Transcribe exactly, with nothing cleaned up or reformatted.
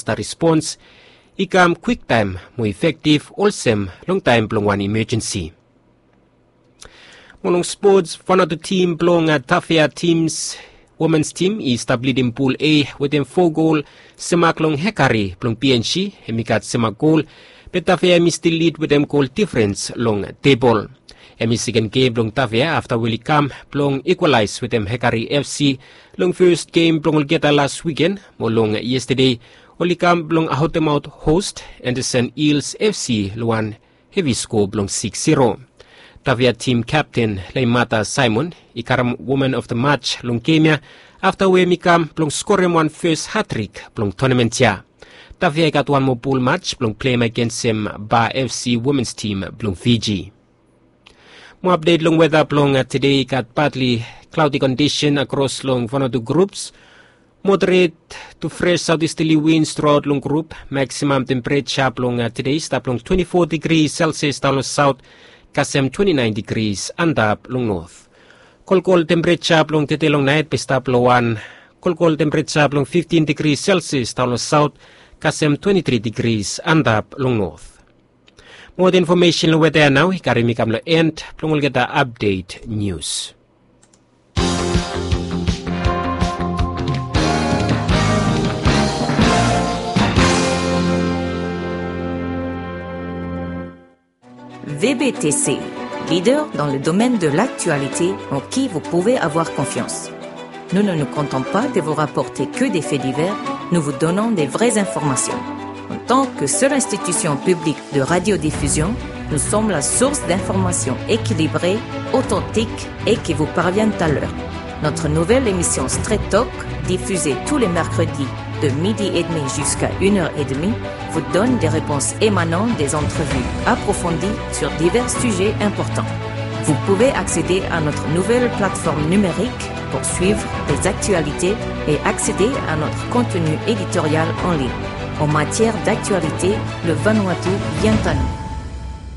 Fasta respons i kam kwiktaem mo efektiv olsem long taem blong wan imejensi. Mo long spots, Vanuatu tim blong Tafea tims womens tim i stap lidim pul A wetem fo gol, semak long Hekari blong P N G hem i gat semak gol. Be Tafea hem i stil lid wetem gol difrens long tebol. Hem i seken gem blong Tafea afta we oli kam blong ikwalaes wetem Hekari F C long fes gem blong olgeta las wiken, mo long yestade oli kam blong aotemaot host Anderson Eels F C long wan hevi skoa blong siks zero. Tafea tim kapten Leimata Simon i karem Woman of the Match long gem ya afta we hem i kam blong skorem wan fes hatrik blong tonamen ya. Tafea i gat wan moa pul mats blong pleim agensem Ba F C womens tim blong Fiji. Mo apdet long weta blong tede, i gat patli klaodi kondisen akros long Vanuatu grups. Moderet tu fres saotisterli wins truaot long grup. Maksimam tempereja blong tede i stap long twenti fo digri Celsius daon long saot, kasem twenti naen digris antap long not. Kolkol tempereja blong tede long naet be i stap long wan kolkol tempereja blong fiftin digri Celsius daon long saot, kasem twenti tri digris antap long not. Moa infomesen long weta ya nao i karem mi kam long en blong olgeta apdet nius. V B T C, leader dans le domaine de l'actualité en qui vous pouvez avoir confiance. Nous ne nous contentons pas de vous rapporter que des faits divers, nous vous donnons des vraies informations. En tant que seule institution publique de radiodiffusion, nous sommes la source d'informations équilibrées, authentiques et qui vous parviennent à l'heure. Notre nouvelle émission Straight Talk, diffusée tous les mercredis de midi et demi jusqu'à une heure et demie, vous donne des réponses émanant des entrevues approfondies sur divers sujets importants. Vous pouvez accéder à notre nouvelle plateforme numérique pour suivre les actualités et accéder à notre contenu éditorial en ligne. En matière d'actualité, le Vanuatu vient à nous.